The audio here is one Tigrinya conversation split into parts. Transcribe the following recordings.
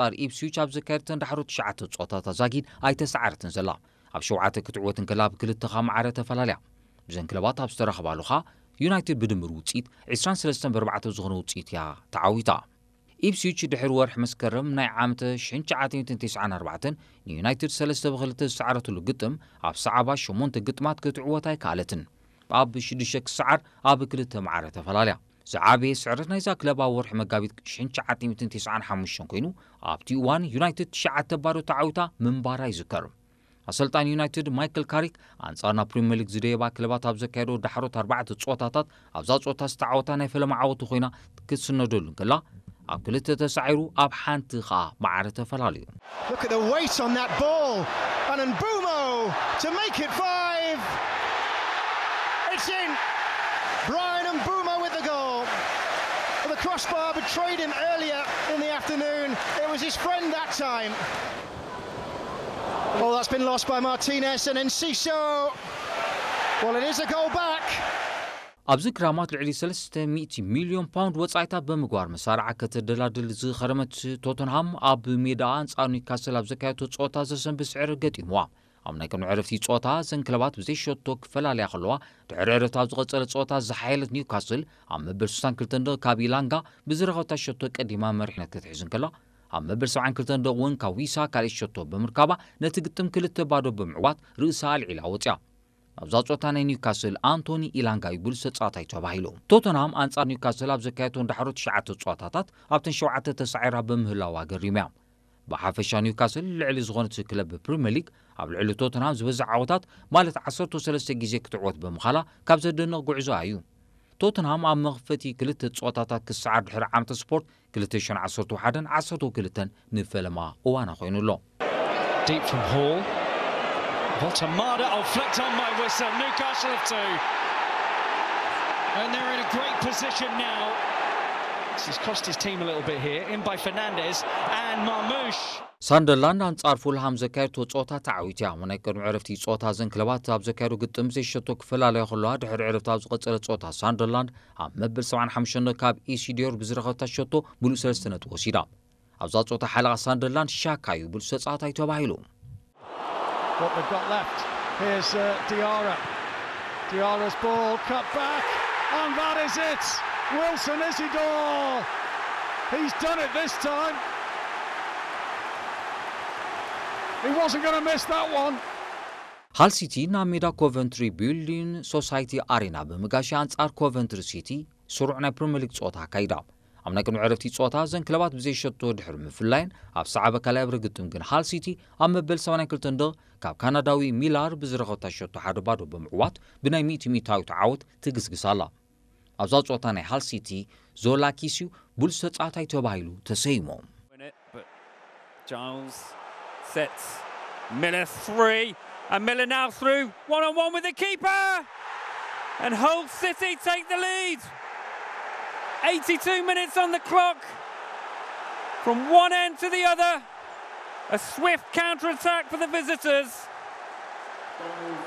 ኣንጻር ኢፕስዊች ኣብ ዘካየደተን ዳሕሮ ትሽዓተ ጸወታታት ዛጊድ ኣይተሰዓረትን ዘላ። ኣብ ሸውዓተ ክትዕወት እንከላ፣ ኣብ ክልተ ኸኣ ማዕረ ተፈላለያ። ብዘን ክለባት ኣብ ዝተራኸባሉ ኸኣ፣ ዩናይትድ ብድምር ውጽኢት ዕስራን ሰለስተን ብኣርባዕተ ዝኾነ ውጽኢት እያ ተዓዊታ። ኢፕስዊች ድሕሪ ወርሒ መስከረም ናይ ዓመተ ሽሕን ትሽዓተ ሚእትን ተስዓን ኣርባዕተን ንዩናይትድ ሰለስተ ብክልተ ዝሰዓረትሉ ግጥም፣ ኣብ ሰዓባ ሸሞንተ ግጥማት ክትዕወት ኣይከኣለትን። ኣብ ሽዱሽተ ክሰዓር ኣብ ክልተ ማዕረ ተፈላለያ። ዝዓበየ ስዕረት ናይዛ ክለብ ኣብ ወርሒ መጋቢት ሽሕን ትሽዓተ ሚእትን ተስዓን ሓሙሽተን ኮይኑ፣ ኣብቲ እዋን ዩናይትድ ትሽዓተ ባዶ ተዓዊታ ምንባራ ይዝከር። ኣሰልጣኒ ዩናይትድ ማይክል ካሪክ ኣንጻር ናብ ፕሪምየር ሊግ ዝደየባ ክለባት ኣብ ዘካየዶ ዳሕሮት ኣርባዕተ ጸወታታት፣ ኣብዛ ጸወታ ዝተዓወታ ናይ ፈለማ ዓወቱ ኮይና ክትስነደሉ እንከላ፣ ኣብ ክልተ ተሳዒሩ ኣብ ሓንቲ ኸኣ ማዕረ ተፈላለዩ። Look at the weight on that ball. And Mbumo to make it five. It's in. Brian Mbumo with the goal. The crossbar betrayed him earlier in the afternoon. It was his friend that time. Oh, that's been lost by Martinez and Enciso. Well, it is a goal back. ኣብዚ ክራማት ልዕሊ ሰለስተ ሚእቲ ሚልዮን ፓውንድ ወጻኢታት ብምግባር መሳርዓ ከተደላድል ዝኸረመት ቶተንሃም፣ ኣብ ሜዳኣ ኣንጻር ኒውካስል ኣብ ዘካየደቶ ጸወታ ዘሰንብድ ስዕረት ገጢምዋ። ኣብ ናይ ቅድሚ ዕረፍቲ ጸወታ፣ እዘን ክለባት ብዘይ ሸቶ ክፈላለያ ከለዋ፣ ድሕሪ ዕረፍቲ ኣብ ዝቐጸለ ጸወታ ዝሓየለት ኒውካስል ኣብ መበል ስሳን ክልተን ደቂቕ ካብ ኢላንጋ ብዝረኸበታ ሸቶ ቀዲማ መሪሕነት ክትሕዝ እንከላ፣ ኣብ መበል ሰብዓን ክልተን ደቂቕ እውን ካብ ዊሳ ካልኣይ ሸቶ ብምርካባ፣ ነቲ ግጥም ክልተ ባዶ ብምዕዋት ርእሳ ኣልዒላ ወጽያ። ኣብዛ ጸወታ ናይ ኒውካስል ኣንቶኒ ኢላንጋ እዩ ብሉጽ ተጻዋታይ ተባሂሉ። ቶተንሃም ኣንጻር ኒውካስል ኣብ ዘካየደቶም ዳሕሮ ትሽዓተ ጸወታታት ኣብተን ሸውዓተ ተሳዒራ ብምህላዋ ገሪሙ እያ። ብሓፈሻ ኒውካስል ልዕሊ ዝኾነት ክለብ ፕሪምየር ሊግ ኣብ ልዕሊ ቶተንሃም ዝበዝሕ ዓወታት ማለት ዓሰርተ ሰለስተ ግዜ ክትዕወት ብምኻላ ካብ ዘደንቕ ጉዕዞኣ እዩ። ቶተንሃም ኣብ መኽፈቲ ክልተ ጸወታታት ክሰዓር ድሕሪ ዓመተ ስፖርት ክልተ ሽሕን ዓሰርተ ሓደን ዓሰርተ ክልተን ንፈለማ እዋና ኮይኑ ኣሎ። Deep from Hall. Voltamada. Oh, flicked on by Wissa. Newcastle have two. And they're in a great position now. This has cost his team a little bit here. In by Fernandez and Marmoush. ሳንደርላንድ ኣንጻር ፉልሃም ዘካየድቶ ጸወታ ተዓዊትያ። ኣብ ናይ ቅድሚ ዕረፍቲ ጸወታ እዘን ክለባት ኣብ ዘካየዶ ግጥም ዘይሸቶ ክፈላለያ ከለዋ፣ ድሕሪ ዕረፍቲ ኣብ ዝቐጸለ ጸወታ ሳንደርላንድ ኣብ መበል ሰብዓን ሓሙሽተን ካብ ኢሲዲዮር ብዝረኸበታ ሸቶ ምሉእ ሰለስተ ነጥቢ ወሲዳ። ኣብዛ ጸወታ ሓለቓ ሳንደርላንድ ሻካ እዩ ብሉጽ ተጻዋታይ ተባሂሉ። What they've got left. Here's uh, Diarra. Diarra's ball cut back, and that is it. Wilson Isidore. He's done it this time. He wasn't going to miss that one. ሃል ሲቲ ናብ ሜዳ ኮቨንትሪ ቢልዲንግ ሶሳይቲ ኣሬና ብምጋሻ ኣንጻር ኮቨንትሪ ሲቲ ስሩዕ ናይ ፕሪምየር ሊግ ጸወታ ኣካይዳ። ኣብ ናይ ቅድሚ ዕረፍቲ ጸወታ እዘን ክለባት ብዘይ ሸቶ ድሕሪ ምፍላየን ኣብ ሰዓበ ካልኣይ እብረ ግጥም ግን ሃል ሲቲ ኣብ መበል ሰማንያን ክልተን ደቕ ካብ ካናዳዊ ሚላር ብዝረኸብታ ሸቶ ሓደ ባዶ ብምዕዋት ብናይ ሚእቲ ሚእታዊት ዓወት ትግስግስ ኣላ። ኣብዛ ጸወታ ናይ ሃል ሲቲ ዞላኪስ እዩ ብሉጽ ተጻዋታይ ተባሂሉ ተሰይሙ። Win it, but Giles sets Miller three, and Miller now through one on one with the keeper, and Hull City take the lead. eighty-two minutes on the clock. From one end to the other, a swift counter attack for the visitors,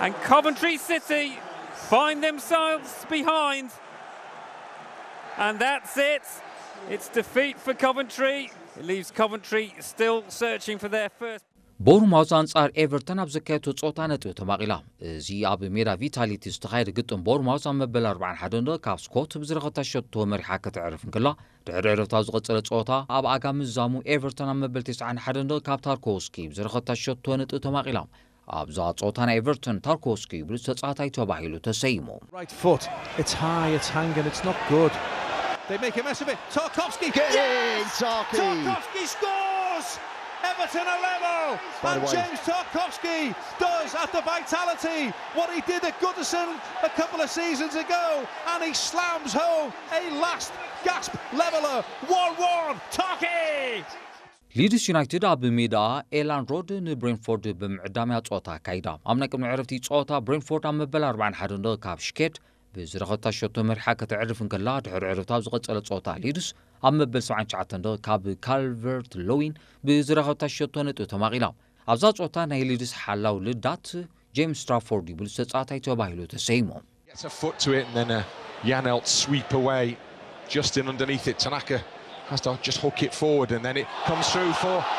and Coventry City find themselves behind. And that's it. It's defeat for Coventry. It leaves Coventry still searching for their first. ቦርማውዝ ኣንጻር ኤቨርተን ኣብ ዘካየቶ ጸወታ ነጥቢ ተማቒላ። እዚ ኣብ ሜዳ ቪታሊቲ ዝተኻየደ ግጥም ቦርማውዝ ኣብ መበል ኣርባዓን ሓደን ደቂ ካብ ስኮት ብዝረኸብታ ሸቶ መሪሓ ከተዕርፍ እንከላ፣ ድሕሪ ዕረፍቲ ኣብ ዝቐጸለ ጸወታ ኣብ ኣጋ ምዛሙ ኤቨርተን ኣብ መበል ተስዓን ሓደን ደቂ ካብ ታርኮውስኪ ብዝረኸብታ ሸቶ ነጥቢ ተማቒላ። ኣብዛ ጸወታ ናይ ኤቨርተን ታርኮውስኪ ብሉጽ ተጻዋታይ ተባሂሉ ተሰይሙ። Right foot. It's high, it's hanging, it's not good. They make a mess of it. Tarkovsky. Get in, Tarky. Tarkovsky scores! Everton are level. By the And way- James Tarkovsky does at the Vitality what he did at Goodison a couple of seasons ago. And he slams home a last gasp leveller. one one. Tarky! ሊድስ ዩናይትድ ኣብ ሜዳ ኤላንድ ሮድ ንብሬንፎርድ ብምዕዳም እያ ጸወታ ኣካይዳ። ኣብ ናይ ቅድሚ ዕረፍቲ ጸወታ ብሬንፎርድ ኣብ መበል ኣርባዓን ሓደን ደቂ ካብ ሽኬድ ብዝረኸብታ ሸቶ መሪሓ ከተዕርፍ እንከላ፣ ድሕሪ ዕረፍቲ ኣብ ዝቐጸለ ጸወታ ሊድስ ኣብ መበል ሰብዓን ትሽዓተን ደቂ ካብ ካልቨርት ሎዊን ብዝረኸብታ ሸቶ ነጥቢ ተማቒላ። ኣብዛ ጸወታ ናይ ሊድስ ሓላው ልዳት ጄምስ ስትራፎርድ እዩ ብሉጽ ተጻዋታይ ተባሂሉ ተሰይሙ። Gets a foot to it and then a Janelt sweep away. Justin underneath it. Tanaka Has to just hook it forward and then it comes through for